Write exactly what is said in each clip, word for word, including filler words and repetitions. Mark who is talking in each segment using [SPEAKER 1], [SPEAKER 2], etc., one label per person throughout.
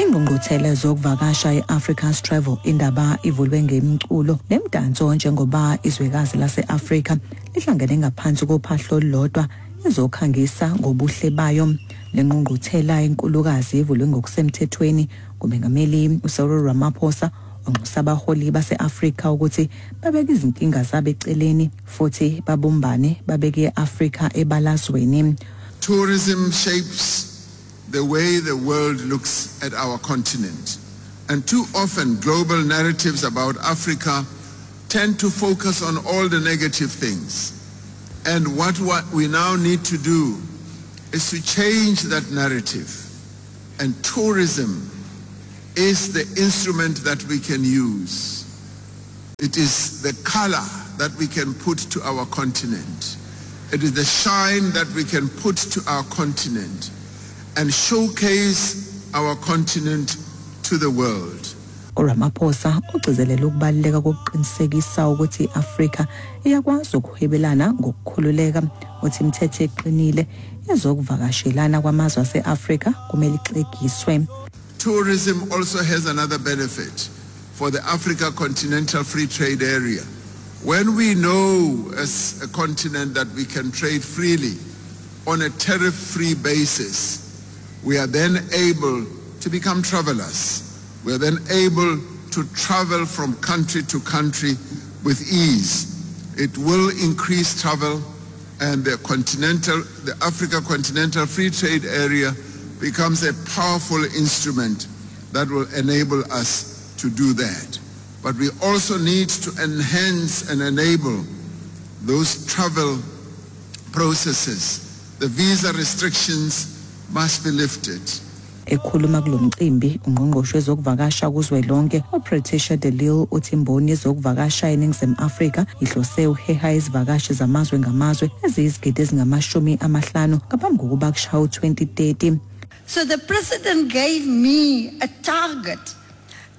[SPEAKER 1] Ingqungquthela zokuvakasha i-Africa's Travel Indaba ivulwe ngemculo nemdanso njengoba izwekazi lase-Afrika lihlangene ngaphansi kophahlo olulodwa ezokhangisa ngobuhle bayo. Le ngqungquthela enkulukazi ivulwe ngokusemthethweni ngumengameli uCyril Ramaphosa, onxusa abaholi base-Afrika ukuthi babeke izinkinga zabo eceleni futhi babumbane, babeke i-Afrika ebalazweni.
[SPEAKER 2] Tourism shapes the way the world looks at our continent. And too often global narratives about Africa tend to focus on all the negative things. And what, what we now need to do is to change that narrative. And tourism is the instrument that we can use. It is the color that we can put to our continent. It is the shine that we can put to our continent and showcase our continent to the world.
[SPEAKER 1] uRamaphosa ugcizelela ukubaluleka kokuqinisekisa ukuthi i-Afrika iyakwazi ukuhwebelana ngokukhululeka. Uthi imithetho eqinile ezokuvakashelana kwamazwe ase-Afrika kumele ixegiswe.
[SPEAKER 2] Tourism also has another benefit for the Africa Continental Free Trade Area. When we know as a continent that we can trade freely on a tariff-free basis, we are then able to become travelers. We are then able to travel from country to country with ease. It will increase travel, and the continental, the Africa Continental Free Trade Area becomes a powerful instrument that will enable us to do that. But we also need to enhance and enable those travel processes. The visa restrictions must be lifted.
[SPEAKER 1] Ekhuluma kulo mcimbi, ungqongqoshe wezokuvakasha kuzwelonke uPatricia de Lille uthi imboni yezokuvakasha eNingizimu Afrika ihlose uheha izivakashi zamazwe ngamazwe eziyizigidi ezingamashumi amahlanu ngaphambi kokuba kushaya u-twenty thirty.
[SPEAKER 3] So the president gave me a target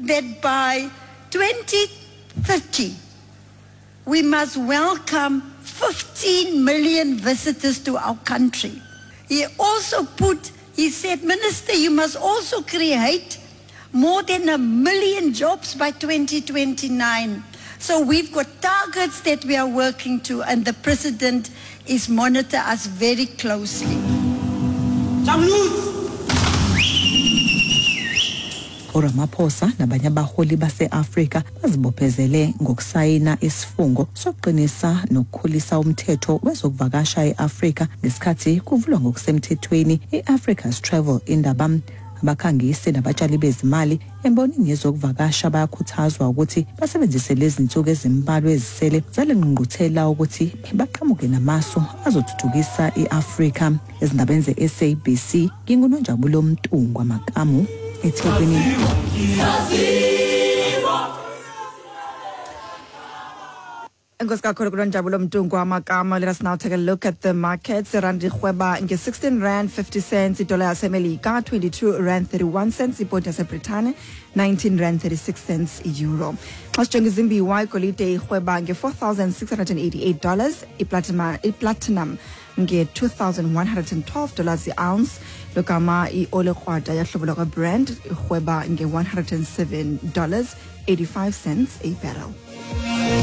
[SPEAKER 3] that by twenty thirty we must welcome fifteen million visitors to our country. He also put, he said, "Minister, you must also create more than a million jobs by twenty twenty-nine" So we've got targets that we are working to, and the president is monitor us very closely.
[SPEAKER 1] uRamaphosa nabanye abaholi base-Afrika bazibophezele ngokusayina isifungo sokuqinisa nokukhulisa umthetho wezokuvakasha e-Afrika ngesikhathi kuvulwa ngokusemthethweni i-Africa's Travel Indaba. Abakhangisi nabatshali bezimali embonini yezokuvakasha bayakhuthazwa ukuthi basebenzise lezi zinsuku ezimbalwa ezisele zale ngqungquthela ukuthi baqhamuke namasu azothuthukisa i-Afrika. Ezindabeni ze-S A B C, nginguNonjabulo Mntungwa Makamu, eThekwini.
[SPEAKER 4] Enkosi kakhulu kuNonjabulo Mntungwa Makama. Let us now take a look at the markets. Irandi irhweba nge-sixteen rand fifty cents, idola yaseMelika twenty-two rand thirty-one cents, iponti yaseBritane nineteen rand thirty-six cents, euro. Xa sijonga izimbiwa, igolide irhweba nge-four thousand six hundred eighty-eight dollars, iplatinum, iplatinum nge-two thousand one hundred twelve dollars i-ounce, logama i-oli krwada yahlobo lwakwaBrent irhweba nge-one hundred seven dollars eighty-five cents a barrel.